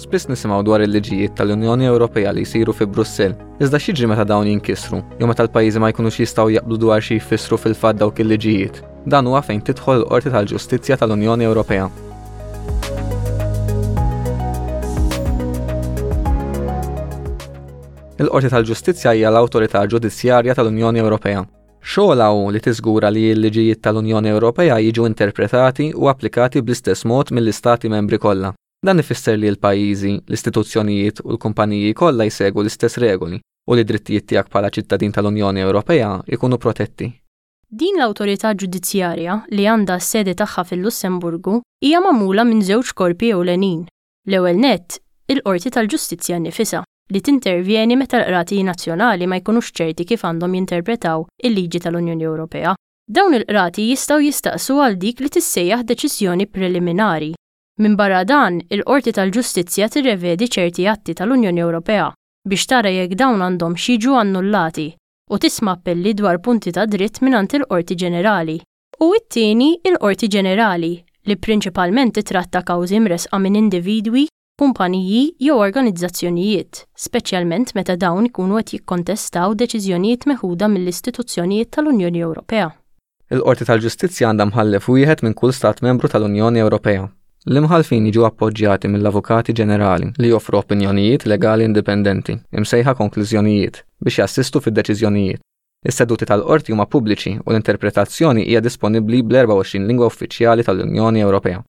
Spiss nisimgħu dwar il-liġijiet tal-Unjoni Ewropea li jsiru fi Brussell, iżda x'jiġri meta dawn jinkisru, jew meta l-pajjiżi ma jkunux jistgħu jaqblu dwar xi jfissru fil-fatt dawk il-liġijiet? Dan huwa fejn tidħol il-Qorti tal-Ġustizzja tal-Unjoni Ewropea. Il-Qorti tal-Ġustizzja hija l-awtorità ġudizzjarja tal-Unjoni Ewropea. Xogħolha hu li tiżgura li l-liġijiet tal-Unjoni Ewropea jiġu interpretati u applikati bl-istess mod mill-Istati Membri kollha. Dan ifisser li l-pajjiżi, l-istituzzjonijiet u l-kumpaniji kollha jsegwu l-istess regoli u li d-drittijiet tiegħek bħala ċittadin tal-Unjoni Ewropea jkunu protetti. Din l-awtorità ġudizzjarja, li għandha s-sede tagħha fil-Lussemburgu, hija magħmula minn żewġ korpi ewlenin. L-ewwel nett, il-Qorti tal-Ġustizzja nnifisha, li tintervjeni meta l-qrati nazzjonali ma jkunux ċerti kif għandhom jinterpretaw il-liġi tal-Unjoni Ewropea. Dawn il-qrati jistgħu jistaqsu għal dik li tissejjaħ deċiżjoni preliminari. Minbarra dan, il-Qorti tal-Ġustizzja tirrevedi ċerti atti tal-Unjoni Ewropea biex tara jekk dawn għandhomx jiġu annullati u tisma' appelli dwar punti ta' dritt mingħand il-Qorti Ġenerali. U it-tieni, il-Qorti Ġenerali, li prinċipalment titratta kawżi mressqa minn individwi, kumpaniji jew organizzazzjonijiet, speċjalment meta dawn ikunu qed jikkontestaw deċiżjonijiet meħuda mill-istituzzjonijiet tal-Unjoni Ewropea. Il-Qorti tal-Ġustizzja għandha mħallef wieħed minn kull Stat Membru tal-Unjoni Ewropea. L-imħallfin jiġu appoġġjati mill-Avukati Ġenerali li joffru opinjonijiet legali indipendenti, imsejħa konklużjonijiet, biex jassistu fid-deċiżjonijiet. Is-seduti tal-qorti huma pubbliċi u l-interpretazzjoni hija disponibbli bl-24 lingwa uffiċjali tal-Unjoni Ewropea.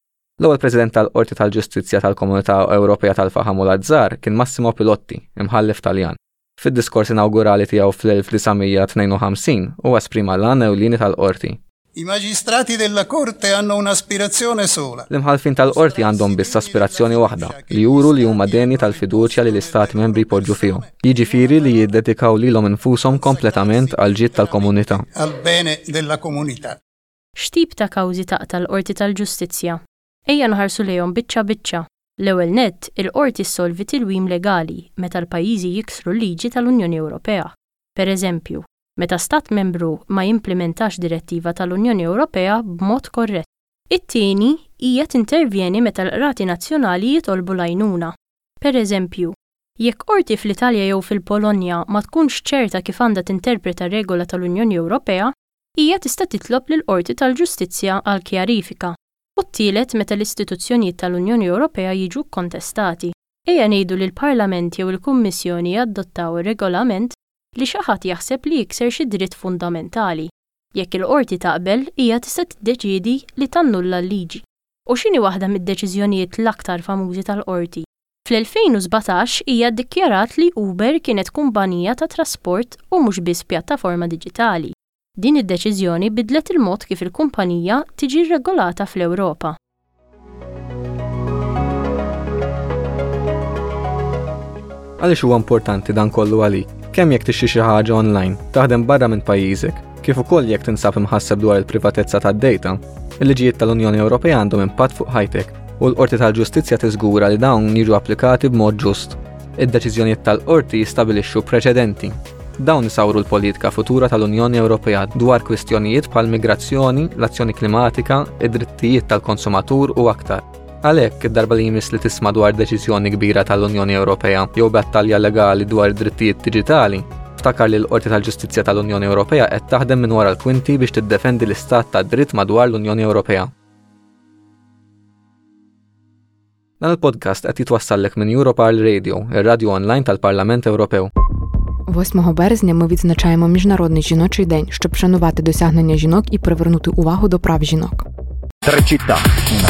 L-ewwel President tal-Qorti tal-Ġustizzja tal-Komunità Ewropea tal-Faħam u l-Azzar kien Massimo Pilotti, imħallef Taljan. Fid-diskors inawgurali tiegħu fl-1952, huwa esprima l-għan ewlieni tal-Qorti. I magistrati della Corte hanno un'aspirazione sola. L-imħallfin tal-Qorti għandhom biss aspirazzjoni waħda, li juru li huma denji tal-fiduċja li l-Istati Membri jpoġġu fihom, jiġifieri li jiddedikaw lilhom infushom kompletament għall-ġid tal-komunità. Al bene della comunità. X'tip ta' kawżi taqta' l-Qorti tal-Ġustizzja? Ejja nħarsu lejhom biċċa biċċa. L-ewwel nett, il-Qorti ssolvi tilwim legali meta l-pajjiżi jiksru l-liġi tal-Unjoni Ewropea. Pereżempju, meta Stat Membru ma jimplimentax direttiva tal-Unjoni Ewropea b'mod korrett. It-tieni, hija tintervjeni meta l-qrati nazzjonali jitolbu l-għajnuna. Pereżempju, jekk qorti fl-Italja jew fil-Polonja ma tkunx ċerta kif għandha tinterpreta regola tal-Unjoni Ewropea, hija tista' titlob lill-Qorti tal-Ġustizzja għal kjarifika. U t-tielet meta l-istituzzjonijiet tal-Unjoni Ewropea jiġu kkontestati. Ejja ngħidu li l-Parlament jew il-Kummissjoni jadottaw regolament li xi ħadd jaħseb li jikser xi dritt fundamentali. Jekk il-Qorti taqbel, hija tista' tiddeċiedi li tannulla l-liġi. U x'inhi waħda mid-deċiżjonijiet l-aktar famużi tal-Qorti? Fl-2017 hija ddikjarat li Uber kienet kumpanija ta' trasport u mhux biss pjattaforma diġitali. Din id-deċiżjoni bidlet il-mod kif il-kumpanija tiġi rregolata fl-Ewropa. Għaliex huwa importanti dan kollu għalik? Kemm jekk tixtri xi ħaġa online, taħdem barra minn pajjiżek, kif ukoll jekk tinsab imħasseb dwar il-privatezza tad-data, il-liġijiet tal-Unjoni Ewropea għandhom impatt fuq ħajtek u l-Qorti tal-Ġustizzja tiżgura li dawn jiġu applikati b'mod ġust. Id-deċiżjonijiet tal-Qorti jistabilixxu preċedenti. Dawn isawru l-politika futura tal-Unjoni Ewropea dwar kwistjonijiet bħal migrazzjoni, l-azzjoni klimatika, id-drittijiet tal-konsumatur u aktar. Għalhekk, id-darba li jmiss li tisma' dwar deċiżjoni kbira tal-Unjoni Ewropea jew battalja legali dwar id-drittijiet diġitali, ftakar li l-Qorti tal-Ġustizzja tal-Unjoni Ewropea qed taħdem minn wara l-kwinti biex tiddefendi l-istat tad-dritt madwar l-Unjoni Ewropea. Dan il-podcast qed jitwassallek minn Europarl Radio, ir-radju online tal-Parlament Ewropew. 8 березня ми відзначаємо Міжнародний жіночий день, щоб вшанувати досягнення жінок і привернути увагу до прав жінок. Tre città, una